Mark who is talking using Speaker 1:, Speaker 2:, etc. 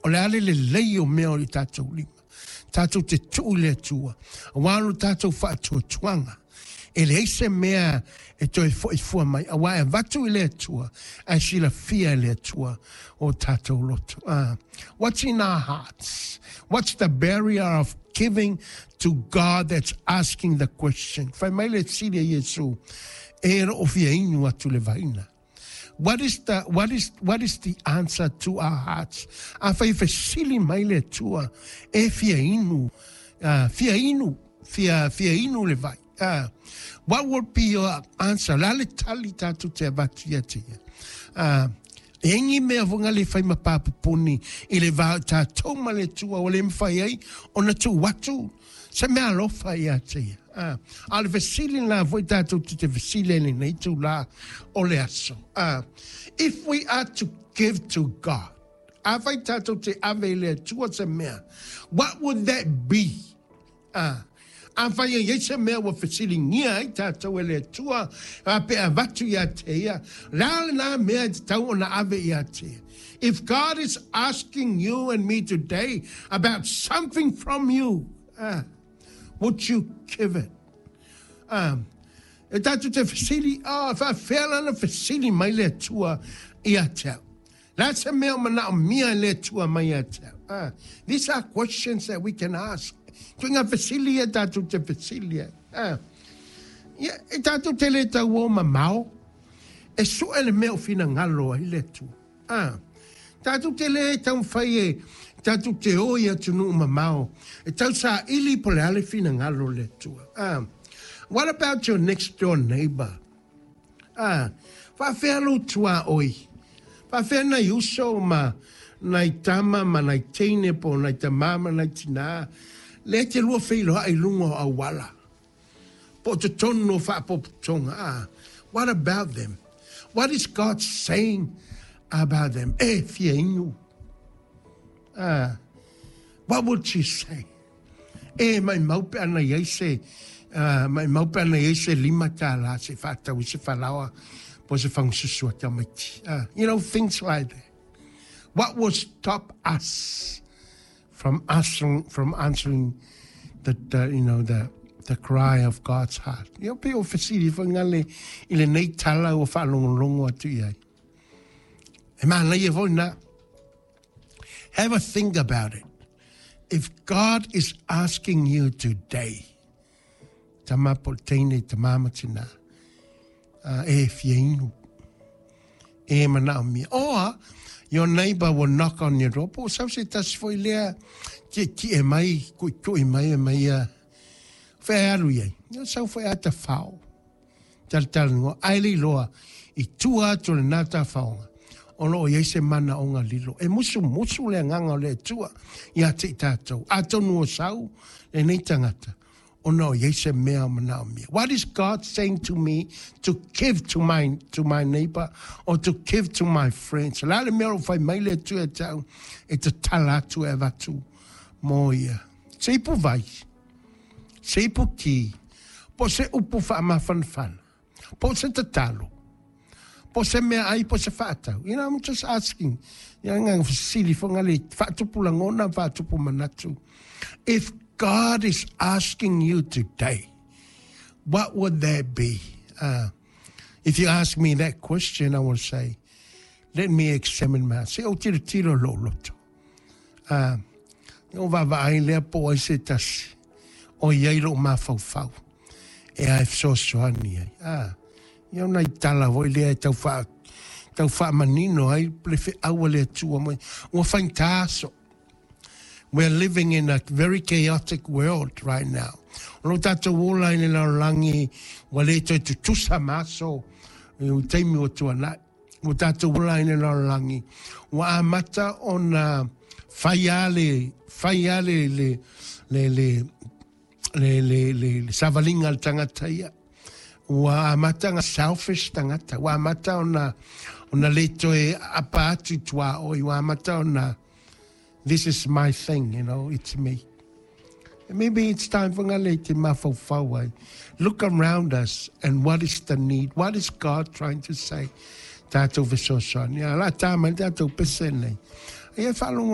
Speaker 1: O le a le lelei o mea o i tatou lima. Tatou te tuu i le Atua, aua lo tatou faatuatuaga. E leai se mea e toe foi fua mai, aua e avatu i le Atua, ae silafia e le Atua o tatou loto. What's in our hearts? What's the barrier of giving to God that's asking the question? Fai mai le fesili a Iesu, e loo fia inu atu le vaina. What is the answer to our hearts? Afai e fesili mai le Atua, e fia inu, fia inu, fia inu le vai. What would be your answer? La le tali tatou te avatu ia te ia. E ingi mea vonga le fai ma papupuni i le vā o tatou ma le Atua ua le mafai ai ona tuu atu se mea alofa ia te ia. A o le fesili lena foi tatou te fesili ai lenei itulā o le aso. If we are to give to God, afai tatou te ave i le Atua se mea, what would that be? Afai e iai se mea ua fesiligia ai tatou e le Atua, a pe avatu ia te ia, la lena mea e tatau ona ave ia te ia. If God is asking you and me today about something from you, would you give it? E tatou te fesili, oh, faafefea la ona fesili mai le Atua ia te au. La se mea o manaomia e le Atua mai ia te au. These are questions that we can ask. Ituaiga fesili ia tatou te fesili ai. Ia, e tatou te le tau o mamao, e sue le mea o finagalo ai le Atua. Tatou te le taumafai e tatou te o i atunuu mamao, e tausaili po o le a le finagalo o le Atua. What about your next door neighbor? Faafefea lou tuaoi? Faafefea nai uso ma nai tama ma nai teine po o nai tamā ma nai tinā lea e te lua feiloai i luga o auala po o totonu o faapopotoga? What about them? What is God saying about them? E fia inu. What would you say? E maumau pe ana i ai se maumau pe ana i ai se $5 se i faatau ai se falaoa po o se fagasusu a tamaiti. Things like that. What will stop us from answering the you know the cry of God's heart? Ia pe o fesili foi ngale i lenei tala ua faalogologo atu i ai. E manaia foi na. Have a think about it. If God is asking you today, tama po teine tamā ma tinā, e fia inu, e manaomia. Or your neighbor will knock on your door. Po sau se tasi foi lea tietie mai, kuʻikuʻi mai e mai ia, fea e alu i ai. Ia sau foi a tafao. Talatalanoa, ae le iloa i tua atu o lena tafaoga, o loo i ai se manaoga lilo. E musumusu le agaga o le Atua ia te i tatou. Atonu o sau lenei tagata, ona o i ai se mea o manaomia. What is God saying to me to give to my neighbor or to give to my friends? La le mea o fai mai le Atua ia te au e tatala atu e avatu mo ia. Se ipu vai, se ipu ti, po se upu faamafanafana, po se tatalo, po se meaai po se faatau. I'm just asking. Ia nga fesili foi ngale faatupu lagona, faatupu manatu. If God is asking you today, what would that be? If you ask me that question, I will say, let me examine my se o tiro tiro lo loto. O vaavaai lea po o ai se tasi o i ai lou mafaufau e ae fesoasoani ai. Ia o nai tala foi lea e tau faamanino ai le feau a le Atua mai. Ua faigata aso. We are living in a very chaotic world right now. O lo tatou ola i le lalolagi ua le toe tutusa ma aso i le taimi ua tuanai. Ua tatou ola i le lalolagi ua amata ona fai a le savaliga a le tagata ia. Ua amata ona selfish tagata. Ua amata ona le toe apa atu i tuaoi. Ua amata ona, this is my thing, it's me. And maybe it's time for ngale te mafaufau ai. Look around us and what is the need? What is God trying to say? Tatou fesoasoani. Ia la tā mai tatou pese nei. Ia whaalongolongo.